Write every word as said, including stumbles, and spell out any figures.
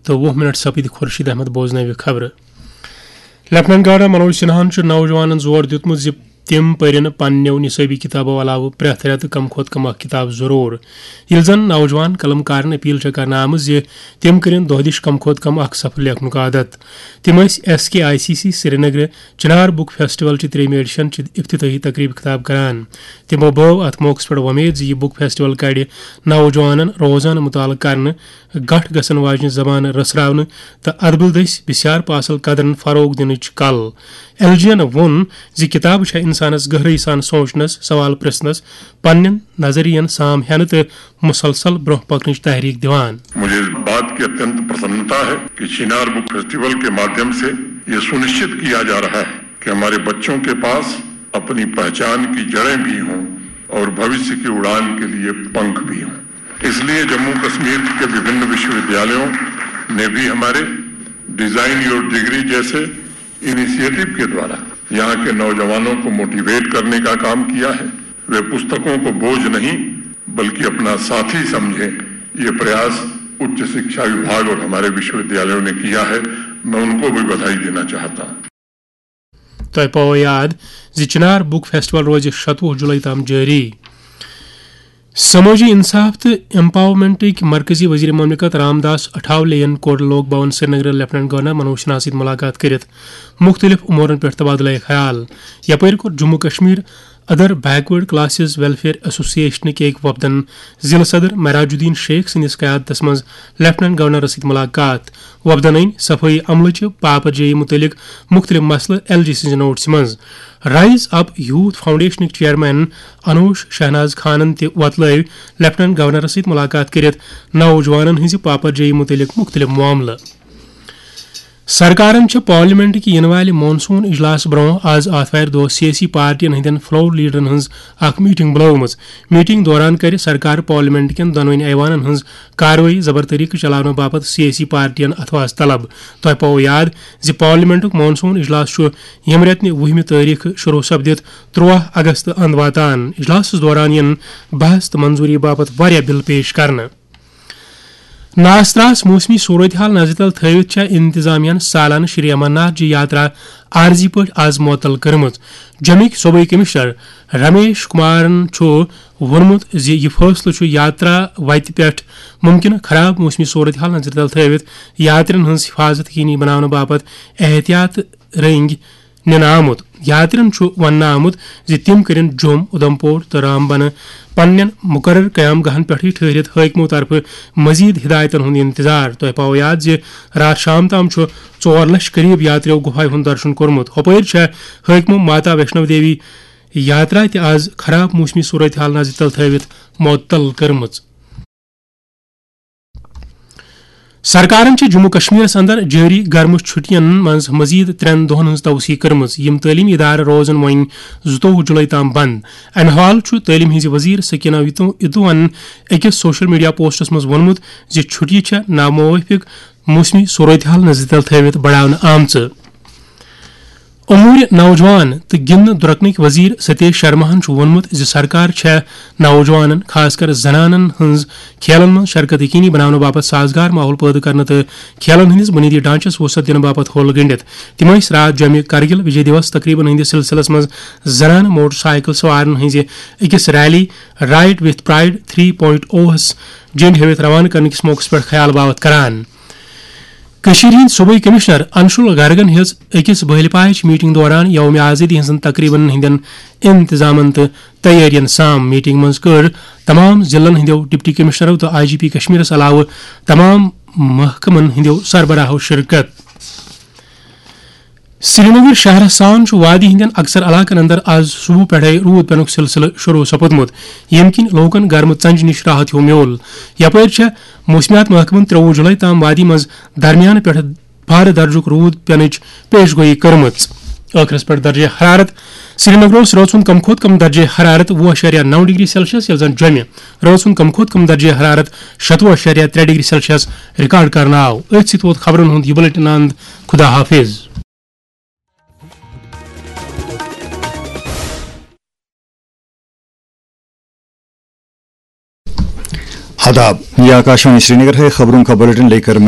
تہٕ وُہ منٹ سپٕدۍ خورشید احمد بوزنٲوِ خبرٕ۔ لیفٹیننٹ گورنر منوج سنہاہن چھُ نوجوانن زور دیُتمُت زِ تِم پٔرِن پننٮ۪و نصٲبی کِتابو علاوٕ پرٛٮ۪تھ رٮ۪تہٕ کم کھۄتہٕ کم اکھ کِتاب ضروٗر۔ ییٚلہِ زن نوجوان قلم کارن اپیل چھےٚ کرنہٕ آمٕژ زِ تِم کٔرِن دۄہ دِش کم کھۄتہٕ کم اکھ صفحہٕ لیکھنُک عادت۔ تِم ٲسۍ S K I C C سرینگرٕ چنار بُک فیسٹیول چہِ ترٛیٚیمہِ ایڈیشن چہِ افتتاحی تقریبہِ خطاب کران۔ تِمو بٲو اتھ موقعس پٮ۪ٹھ وۄمید زِ یہِ بُک فیسٹیول کرِ نوجوانن روزانہٕ مطالعہٕ کرنہٕ، گٹھ گژھن واجنہِ زبانہٕ رژھراونہٕ تہٕ ادبہٕ دٔسۍ بسیار پاسل قدرن فروغ دِنٕچ کل۔ ایل جی ین ووٚن زِ کتابہٕ چھےٚ انسانس گہرٲیی سان سونچنس، سوال پرژھنس، پننٮ۪ن نظریین سام ہینہٕ تہٕ مسلسل برونٛہہ پکنٕچ تحریک دِوان۔ مجھے اس بات کی اتنت پرسنتا ہے کہ چنار بک فیسٹیول کے مادھیم سے یہ سنشچت کیا جا رہا ہے کہ ہمارے بچوں کے پاس اپنی پہچان کی جڑیں بھی ہوں اور بھوشیہ کی اڑان کے لیے پنکھ بھی ہوں۔ اس لیے جموں کشمیر کے وبھن وشوودیالوں نے بھی ہمارے ڈیزائن یور ڈگری جیسے انیشیٹو کے دوارا یہاں کے نوجوانوں کو موٹیویٹ کرنے کا کام کیا ہے۔ वे पुस्तकों को बोझ नहीं बल्कि अपना साथी समझें, ये प्रयास उच्च शिक्षा विभाग और हमारे विश्वविद्यालयों ने किया है। मैं उनको भी बधाई देना चाहता हूँ। تۄہہِ پاوو یاد زِ چنار بُک فیسٹیول روزِ شتوُہ جُلے تام جٲری۔ سمٲجی انصاف تہٕ ایمپاورمنٹٕکۍ مرکزی وزیر مملکت رام داس اٹھاولے ین کوٚر لوک بھون سرینگرٕ لیفٹیننٹ گورنر منوج سنہا سۭتۍ ملاقات کٔرِتھ مُختٔلِف امورن پٮ۪ٹھ تبادلہ خیال۔ یپٲرۍ کوٚر Jammu Kashmir other backward classes welfare ایسوسیشنٕکۍ أکۍ وفدن ضلع صدر معراج الدین شیخ سٕنٛدِس قیادتس منٛز لیفٹیننٹ گورنرس سۭتۍ ملاقات۔ وفدن أنۍ صفٲیی عملہٕ چہِ پاپرجٲیی مُتعلق مُختٔلِف مسلہٕ ایل جی سٕنٛزِ نوٹسہِ منٛز۔ رائز اپ یوتھ فاؤنڈیشنٕکۍ چیئرمین انوش شہناز خانن تہِ وۄتلٲوۍ لیفٹیننٹ گورنرس سۭتۍ ملاقات کٔرِتھ نوجوانن ہٕنٛزِ پاپرجٲیی مُتعلق مُختٔلِف معاملہٕ۔ سرکارن چھِ پارلیمنٹ کہِ یِنہٕ والہِ مانسون اجلاس برونٛہہ آز آتھوارِ دۄہ سیٲسی پارٹین ہٕنٛدٮ۪ن فلور لیڈرن ہٕنٛز اکھ میٹنگ بُلٲومٕژ۔ میٹنگ دوران کرِ سرکار پارلیمنٹ کٮ۪ن دۄنوٕنی ایوانن ہٕنٛز کاروٲیی زبر طریقہٕ چلاونہٕ باپتھ سیٲسی پارٹین اتھواس طلب۔ تۄہہِ پاوو یاد زِ پارلیمنٹُک مانسون اجلاس چھُ ییٚمہِ رٮ۪تہٕ نہِ وُہمہِ تٲریخہٕ شروع سپدِتھ ترٛوہ اگست اند واتان۔ اجلاسس دوران یِن بحث تہٕ منظوری باپتھ واریاہ بل پیش کرنہٕ۔ ناستراس موسمی صورتحال نظرِ تل تھٲوِتھ چھےٚ انتظامیہ ہن سالانہٕ شری امرناتھ جی یاترا عارضی پٲٹھۍ آز معطل کٔرمٕژ۔ جمِکۍ صوبٲئی کمشنر رمیش کمارن چھُ ووٚنمُت زِ یہِ فٲصلہٕ چھُ یاترا وتہِ پٮ۪ٹھ مُمکنہٕ خراب موسمی صورتحال نظرِ تل تھٲوِتھ یاترین ہٕنٛز حفاظت یقینی بناونہٕ باپتھ احتیاط رٔنگۍ نِنہٕ آمُت۔ یاترین چھُ وننہٕ آمُت زِ تِم کٔرِن جوٚم، اُدھمپور تہٕ رامبنہٕ پننٮ۪ن مُقرر قیام گاہن پٮ۪ٹھٕے ٹھٔہرِتھ حٲکمو طرفہٕ مزید ہدایتن ہُنٛد انتظار۔ تۄہہِ پاوو یاد زِ راتھ شام تام چھُ ژور لچھ قریب یاتریو گُفایہِ ہُنٛد درشن کوٚرمُت۔ ہۄپٲرۍ چھےٚ حٲکمو ماتا ویشنو دیوی یاترا تہِ آز خراب موسمی صورتحال نظرِ تل تھٲوِتھ معطل کٔرمٕژ۔ سرکارن چھِ جموں کشمیرس اندر جٲری گرمہٕ چھُٹین منٛز مزید ترٛٮ۪ن دۄہن ہٕنٛز توسیع کٔرمٕژ۔ یِم تعلیمی ادارٕ روزن وۄنۍ زٕتووُہ جُلے تام بند۔ امہِ حوالہٕ چھُ تعلیٖم ہٕنٛزِ وزیر سکینہ اتو-، اتوہن أکِس سوشل میڈیا پوسٹس منٛز ووٚنمُت زِ چھُٹیہِ چھےٚ ناموافق موسمی صورتحال نظرِ تل تھٲوِتھ بڑاونہٕ آمژٕ۔ امور نوجوان تہٕ گِنٛدنہٕ درۄکنٕکۍ وزیر ستیش شرماہن چھُ ووٚنمُت زِ سرکار چھےٚ نوجوانن، خاص کر زنانن ہٕنٛز کھیلن منٛز شرکت یقینی بناونہٕ باپتھ سازگار ماحول پٲدٕ کرنہٕ تہٕ کھیلن ہٕنٛدِس بُنیٲدی ڈھانچس وسعت دِنہٕ باپتھ ہۄل گٔنٛڈِتھ۔ تِم ٲسۍ راتھ جوٚمہِ کرگِل وِجے دیوس تقریبن ہٕنٛدِس سلسلس منٛز زنانہٕ موٹر سائیکل سوارن ہٕنٛزِ أکِس ریلی رائیڈ وِتھ پرائیڈ تھری پوائنٹ اوہس جنڈ ہیوِتھ روانہٕ کرنہٕ کِس موقعس پٮ۪ٹھ خیال باوتھ کران۔ کٔشیٖرِ ہٕنٛدۍ صوبٲئی کمشنر انشول گرگن ہیٚژ أکِس بٲلۍ پاچ میٹنگ دوران یوم آزادی ہٕنٛزن تقریبن ہٕنٛدٮ۪ن انتظامن تہٕ تیٲرین سام۔ میٹنگ منٛز کٔر تمام ضلعن ہٕنٛدٮ۪و ڈپٹی کمشنرو تہٕ آئی جی پی کشمیرس علاوٕ تمام محکمن ہٕنٛدٮ۪و سربراہو شرکت۔ سرینگر شہرس سان چھُ وادی ہٕنٛدٮ۪ن اکثر علاقن اندر آز صبح پٮ۪ٹھے روٗد پینُک سلسلہٕ شروع سپُدمُت، ییٚمہِ کِنۍ لوٗکن گرمہٕ ژنجہِ نِش راحت ہیوٗ میوٗل۔ یپٲرۍ چھےٚ موسمیات محکمن ترٛووُہ جُلے تام وادی منٛز درمیانہٕ پٮ۪ٹھٕ بارٕ درجُک روٗد پینٕچ پیش گویی کٔرمٕژ۔ ٲخرس پٮ۪ٹھ درجہ حرارت۔ سرینگر اوس رٲژ ہُنٛد کم کھۄتہٕ کم درجہ حرارت وُہ اعشاریہ نو ڈگری سیلسیس، ییٚلہِ زن جوٚمہِ رٲژ ہُنٛد کم کھۄتہٕ کم درجہ حرارت شتوُہ اعشاریہ ترٛےٚ ڈگری سیلسیس ریکارڈ کرنہٕ آو۔ أتھۍ سۭتۍ ووت خبرن ہُنٛد یہِ بُلٹن اند۔ خدا حافظ۔ آداب، یہ آکاشوانی سرینگر ہے۔ خبروں کا بلٹن لے کر میں